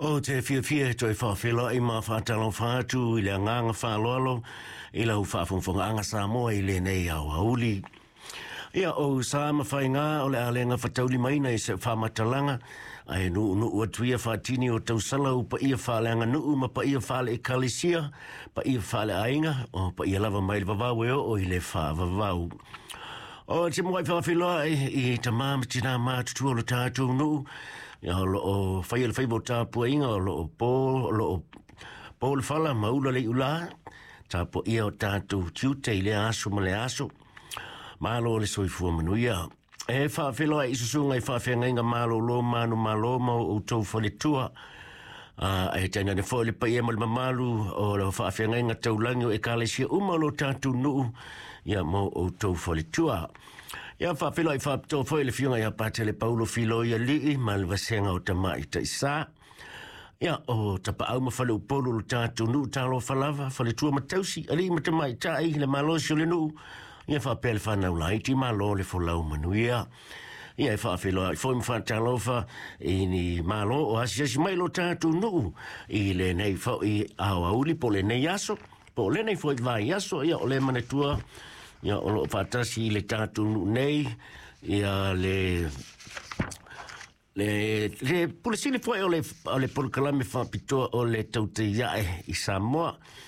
Ou te fiafia e toe faafeiloai ma faatalofa atu i le agaga faaaloalo i lau faafogafogaaga Samoa i lenei aoauli. Ia, o sa ma faiga o le a le gafataulimaina i se faamatalaga, ae nuunuu atu ia faatini o tausala u paia faaleaganuu ma paia faale-ekalesia, paia faaleaiga, o paia lava mai le vavau e oo i le faavavau. O te muai faafeiloai i tamā ma tinā matutua o le tatou nuu, ia, o loo faia le faiva o tapuaiga, o loo po, o loo po le fala ma ula le iulā, tapuaia o tatou tiute i lea aso ma le aso. Malo le soifua manuia. E faafeiloai i susuga i faafeagaiga malolo manumalo ma o outou faletua. A e tainane foi le paia ma le mamalu o le faafeagaiga taulagi o ekalesia uma o lo tatou nuu, ia mo outou faletua. Ia, faafeiloai faapitoa foi le afioga ia Patele Paulo Filoi Alii ma le vasega o Tamai Taisa. Ia, o tapaau ma faleupolu o le tatou nuu, talofa lava, faletua ma tausi, alii ma tamaitai, le malosi o le nuu, ia faapea le fanau laiti, malo le folau manuia. Ia, e faafeiloai foi ma faatalofa i ni malo o asiasi mai lo tatou nuu i lenei foi aoauli po o lenei aso, po o lenei foi vaiaso. Ia, o le manatua, ia, o loo faatasi i le tatou nuu nei, ia, le pule sili foi o le polokalame faapitoa o le Tautai Ae i Samoa.